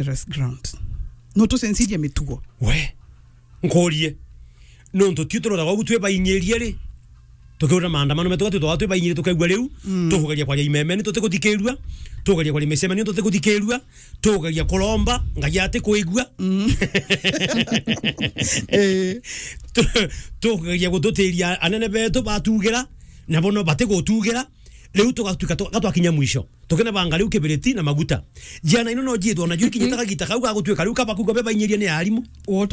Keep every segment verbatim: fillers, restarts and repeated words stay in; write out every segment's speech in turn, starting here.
dangerous ground. No tucenjirie mitugo. We, nkurie. Nontu tiu turothaga ugu twi bainyirie ri? Tukiura maandamano metu, gatwitwa twi bainyirie, tukaigua riu, mm, tukugeria kwaria imemeni, tutikuthikirua, tukugeria kwaria micemanio, tutikuthikirua, tukugeria kuromba, Ngai atikuigua. Mm. Eh. Tu-, tukugeria gututiria anene betu batugira, nabo no batigutugira. Riu tugatuika tu-, gatwakinya mwisho. Tukene banga riu kibiriti na maguta. Ciana ino no ciithwa na juri kinyita kagita kau gagutuika riu kaba kugwa be bainyirie ni arimu.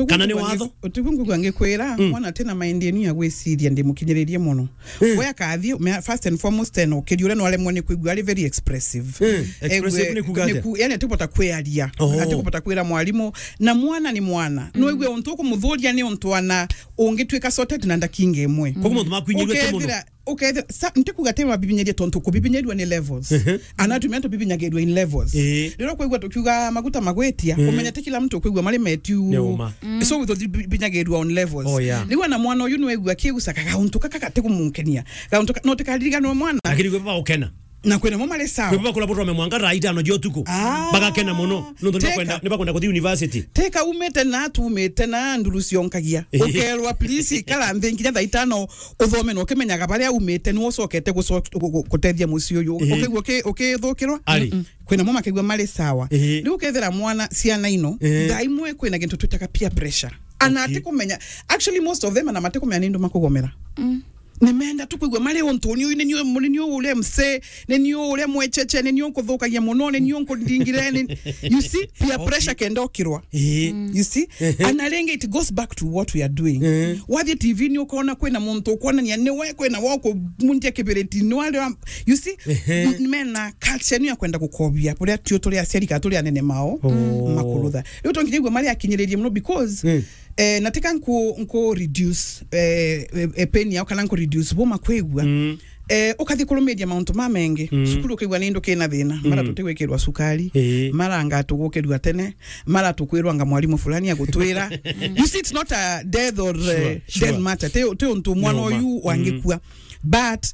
Kana ni watho. Utigwe ngugwa ngikwira, mm, mwana tena mind inu ya gwiciria ndi mukinyiririe muno. Mm. We akathi, me-, first and foremost, tena ukiri uria no aremwe ni kwigua ari very expressive. Mm. Expressive ni kuga atia? Ku-, yani atibota kwiaria. Oh. Atibota kwira mwarimu. Na mwana ni mwana. Mm. No igwe untu ukumuthuria ni untu ana ungituika sorted na ndakinga imwe. Koguo mauntu maku inyiruite muno. Ukethira ukethira, sa, ntikuga ti mabibinyiria tontu kubibinyirua ni levels. Ehe. Ana atumia tubibinyagirua in levels. Ii. Riria ukwigua tukiuga maguta magwitia, ii, umenya ti kila mtu ukwigua mari metiu. Ni uma. Mm. So, tuthibinyagirua on levels. Oh, yeah. Riu ana mwana uyu nwigua akiguca kagauntu kaka gatikumunkenia. Gauntu ka-, no tikaririganwa mwana. Lakini kwi baba ukena. Na kwina mo mari sawa. Kwi baba kula botome mwanga thaa itano cia utuku. Ah. Bagakena muno. Nontu ni bakwenda, teka, ni bakwenda kuthi university. Teka umite na, tumite na nduru cionkagia. Ii. Ukerwa, please, ikara nthi nginya thaa itano uthome na ukimenyaga baria umite, ni ucokete guco-, gu-, gu-, gutethia mucii uyu. Ii. Ukigua uki-, ukithukirwa? Ari. Mm-mm. Kwina mo makigua mari sawa. Ii. Riu ukethira mwana, ciana ino, ii, thaa imwe kwina gintu twitaga peer pressure. Ana, okay, atikumenya. Actually, most of them ana matikumenya ni ndu makugomera. Mm. Nimenda tu kwigua mari untu ni uyu, ni ni uyu, ni ni uyu uria mse, ni ni uyu uria mwecheche, ni ni uyu nkuthukagia muno, ni ni uyu nkundingire, ni, you see, peer, okay, pressure kenda ukirwa. Ii. Mm. You see? Ehe. And again, it goes back to what we are doing. Ehe. Wathie T V ni ukona kwina muntu ukwonania ni we kwina wa kumuntia kibiriti, ni wale wa, you see? Ehe. M-, mena culture ni ya kwenda gukobia, buria tio turi aciari kana turi anene mao. Oh. Makurutha. Riu tonginya igua mari akinyiririe muno because, mm, eh, na tika nku, nku reduce, eh, eh, eh, pain yao kana nku reduce boma kwigua. Mm. Eh, ukathi kurumiria mauntu mamengi. Mm. Cukuru ukigua ni ndu kina thina. Mara, mm, tutigwikirwa cukari. Ii. Mara anga tugukirua tene. Mara tukwirwa anga mwarimu fulani agutwira. You see, it's not a death or, sure, eh, sure, death matter. Ti, ti untu mwana, no, ma, uyu, mm, wangikua. But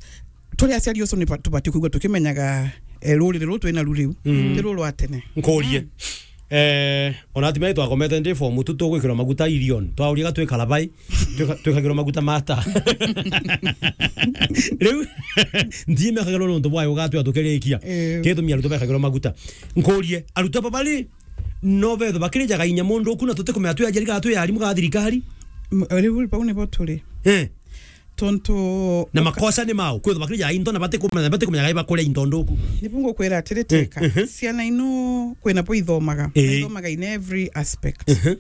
turi aciari ucio ni ba-, tubati kwigua tukimenyaga, eh, ruriri ruru twina ru riu. Mm. Ti ruru rwa tene. Nkurie. Mm. Eh, ona atumia twakomete ndi form two tugwikirwa maguta irion. Twauria gatwikara bai, twika-, twikagirwa maguta mata. Riu, ntiimekagirwa nontu bwayo ugatwia tukirikia. Eh. Gitumi arutwo bekagirwa maguta. Nkurie, arutwo aba bari, no betho bakirijaga inya mundu uku na tutikumenya twi ajari kana twi arimu kana thirikari? M-, riu bau nibo turi. Eh. Tontu na uka- makosa ni mau, kwithwa bakirija into na batikumenya, batikumenya gai bakuria into nduku. Nibu ngukwira atiri, eh, teka. Mhm. Ciana ino kwina bo ithomaga, eh, ithomaga in every aspect. Mhm.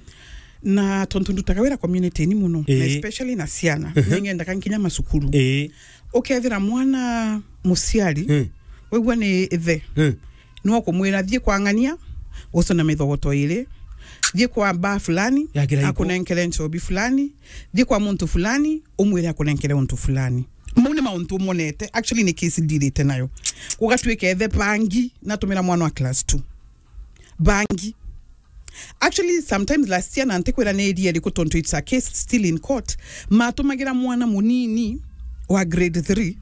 Na tontu ndutaga wira community-ini muno, na, eh, especially na ciana, mhm, ningendaga nkinya macukuru. Eh. Ukethira mwana muciari, mm, wigua ni ithe, mm, no kumwira, thii kwa ng'ania, ucone mithogoto iri, thii kwa baa fulani, ya kiraiko, akunenkere nchobi fulani, thii kwa muntu fulani, umwire akunenkere untu fulani. Mau ni mauntu umonete, actually ni case ndirite nayo. Gugatwika ethe bangi, natumira mwana wa class two. Bangi. Actually, sometimes last year, na ntikwira ni area iriku tontu it's a case still in court, matumagira mwana munini wa grade three.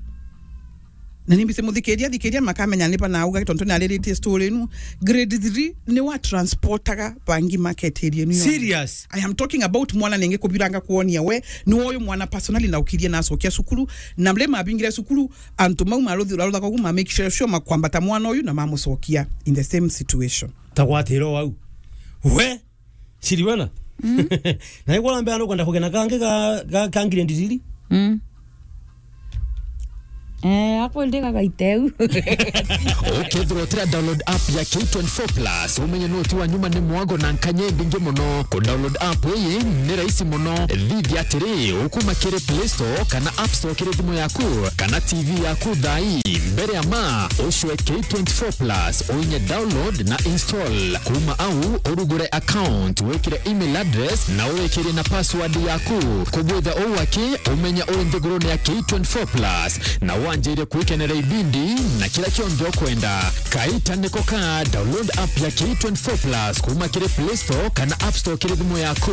Na nimbise muthikiria, thikiria makamenya ni banauga tontu ni ariritie story inu. Grade three ni wa transportaga bangi market area inu yonthe. Serious? I am talking about mwana ningi kubiranga kuonia we, ni uyu mwana personally na ukirie na acokia cukuru, na mle mabingire cukuru, antu mau maruthi-, maruthaga ugu ma make sure, sure makwambata mwana uyu na mamucokia in the same situation. Ta gwatira o au. We, Siriwena? Mm. Na igwa mbea nukwenda kugena kangi ga, ga, ka ngiri ndiri? Mm. Eh, akwende gagaiteu. Ukethirwa utira download app ya K twenty-four plus, umenye no ti wa nyuma ni mwago na nkanye mbingi muno. Ku download app iyi ni rahisi muno. Thithia atiri, ukuma kiri Play Store kana App Store kiri thimu yaku kana T V yaku thai. Mbere ya ma, ucwe K twenty-four plus, uinye download na install. Kuma au, urugure account, wikire email address na uwikirie na password yaku. Kugwitha uu aki, umenya uri nthigurune ya K twenty-four plus na wanjire kwikenera ibindi na kira kionthe ukwenda. Kaita niko ka, download app ya K twenty-four plus kuma kiri Play Store kana App Store kiri thimu yaku.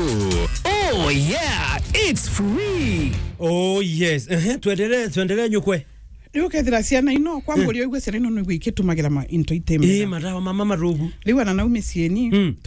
Oh yeah, it's free. Oh yes. Ehe, twendelee, twendelee nyukwe. Riu ukethira ciana ino, kwa Eh. mburi oigua ciana ino noigua ikitumagira ma into itemera. Ii, madawa mama marugu. Riu ana nau miciini, Mm. tuka-